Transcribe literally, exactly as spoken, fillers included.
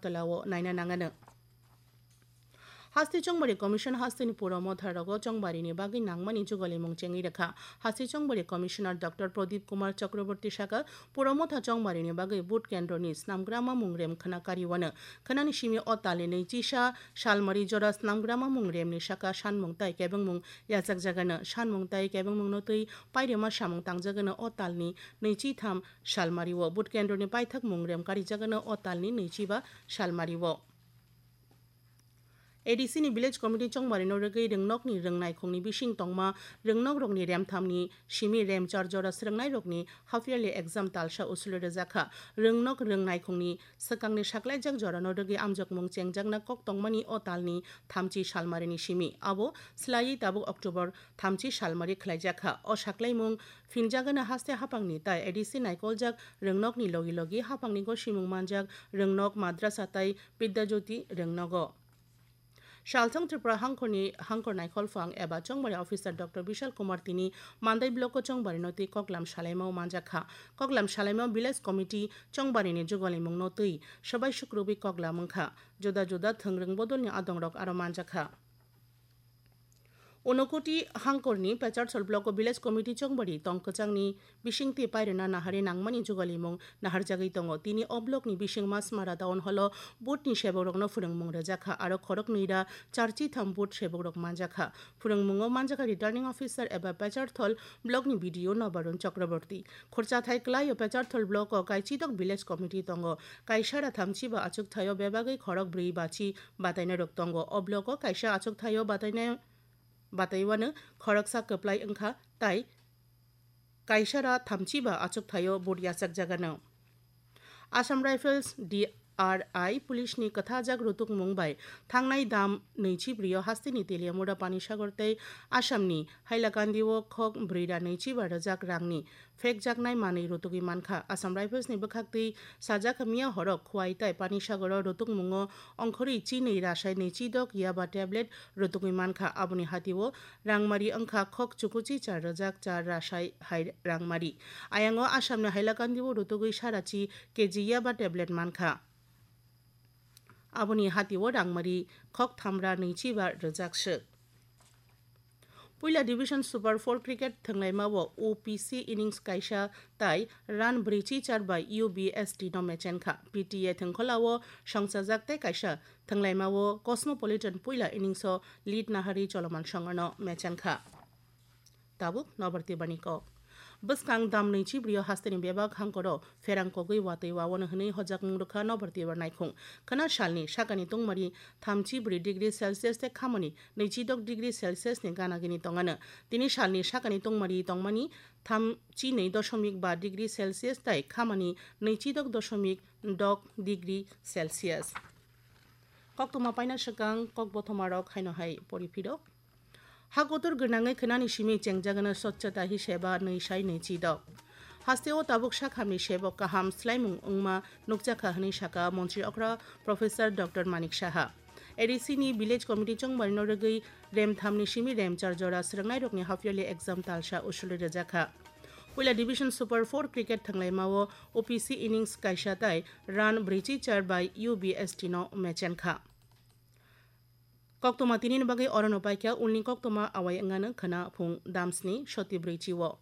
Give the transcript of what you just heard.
Agartala o naina nangano. Haste Chongbari Commission hasteni puro motha rogo chongbarini bagwi nangmani jugalimung chengwi rwkha. Haste Chongbari Commissioner Doctor Pradip Kumar Chakraborty saka, puro motha chongbarini bagwi vote kendroni snamgrama mungrem khwna kariwano. Khwnani simi o talni nwichisa salmari jora snamgrama mungremni saka sanmung tai kebengmung yachakjagano. Sanmung tai kebengmungno twi pairema samung tangjagano o talni nwichitham salmario. Vote kendroni paithak mungrem karijagano o talni nwichiba salmario. A D C ni Village Committee chongbarino rwgwi rwngnokni rwngnaikhungni bising tongma rwngnokrokni remthamni simi remchar jora srwngnairokni half yearly exam talsa usuli rwjakha. Rwngnok rwngnaikhungni swkangni saklaijak jorano rwgwi amjokmung chengjakna kok tongmani o talni thamchi salmarini simi. Abo swlaiwi tabuk October thamchi salmari khlaijakha. O saklaimung phinjagano haste haphangni tai A D C naikoljak rwngnokni logi logi haphangni gosimung manjak rwngnok, madrasa tai Bidya Jyoti rwngnogo. Salthang Tripura hangkhorni hangkhor naikholphang eba chongbari officer Doctor Bishal Kumar tini Mandai block o chongbarino twi koklam salaimao manjakha. Koklam salaimao village committee chongbarini jugalimungno twi swbai sukrubwi koklam wngkha. Juda juda thwngrwng bodolni adongrok aro manjakha. Unokoti hangkorni Pecharthal block o village committee chongbari tong kwchangni bisingtwi pairwna nahari nangmani jugalimung naharjagwi tongo. Tini o blockni bising Masmara town hall o boothni sebokrokno phwrwngmung rwjakha, aro khoroknwi ra charchi tham booth sebokrok manjakha. Phwrwngmungo manjakha returning officer eba Pecharthal blockni B D O Nobarun Chakraborty. Khorchathai kwlaio Pecharthal block o kaichidok village committee tongo. Kaisa ra thamchi ba achuk thaio bebagwi khorok brwi bachi batainairok tongo. O block o kaisa achuk thaio batainai bataiwano khoroksa kwplai wngkha, tai kaisa ra thamchi ba achuk thaio booth yachakjagano. Assam Rifles D R I police ni kwthajak rutukmung bai thangnai dam nwichi brio hasteni Teliamura Panisagar tei Assam ni Hailakandi o khok brwi ra nwichi ba rwjak rangni phekjaknai manwi rutugwi mankha. Assam Rifles ni bwkhaktwi sajak miya horo Khwai tai Panisagar o rutukmungo ongkhorwi chinwi rasai nwichi dok yaba tablet rutugwi mankha. Aboni hatio rangmari wngkha khok chukuchi char rwjak char rasai hai rangmari. Ayango Assam ni Hailakandi o rutugwi sarachi K G yaba tablet mankha. Aboni hatio rangmari khok thamra nwichi ba rwjak swk. Puila Division Super four Cricket thwnglaima o O P C innings kaisa tai run brwichi char bai U B S T no mechenkha. P T A thwngkhwla o songchajak tei kaisa thwnglaima o Cosmopolitan puila innings o lead nahari Choloman Songorno mechenkha. Tabuk Nobar Tibrani kok. Bwskang dam nwichi brio hasteni bebak hangkoro pherang kogwi watwi wawano hwnwi hojakmung rwkha Nobar Tibra naikhung. Khwna salni sakani tungmari thamchi bwrwi degree Celsius tei khamani nwichi dok degree Celsius ni gana gini tongano. Tini salni sakani tungmari tongmani thamchi nwi dosomik ba degree Celsius tei khamani nwichi dok dosomik dok degree Celsius. Koktwma paina swkang kok bothomarok haino hai pori phiro. Ha kotor gwnangwi khwnani simi chengjagano Swachhata Hi Seva nwi sai nwi chi dok. Hasteo tabuk sakhamni sebok kaham swlaimung wngma nukjakha hwnwi saka Montri okra Professor Doctor Manik Saha. A D C ni Village Committee chongbarino rwgwi remthamni simi remchar jora swrwngnairokni half yearly exam talsa usuli rwjakha. Puila Division Super four Cricket thwnglaima o O P C innings kaisa tai run brwichi char bai U B S T no mechenkha. Koktwma tinini bagwi orono paikha, ulni koktwma awai wngano khwna phung damsni soti brwichi o.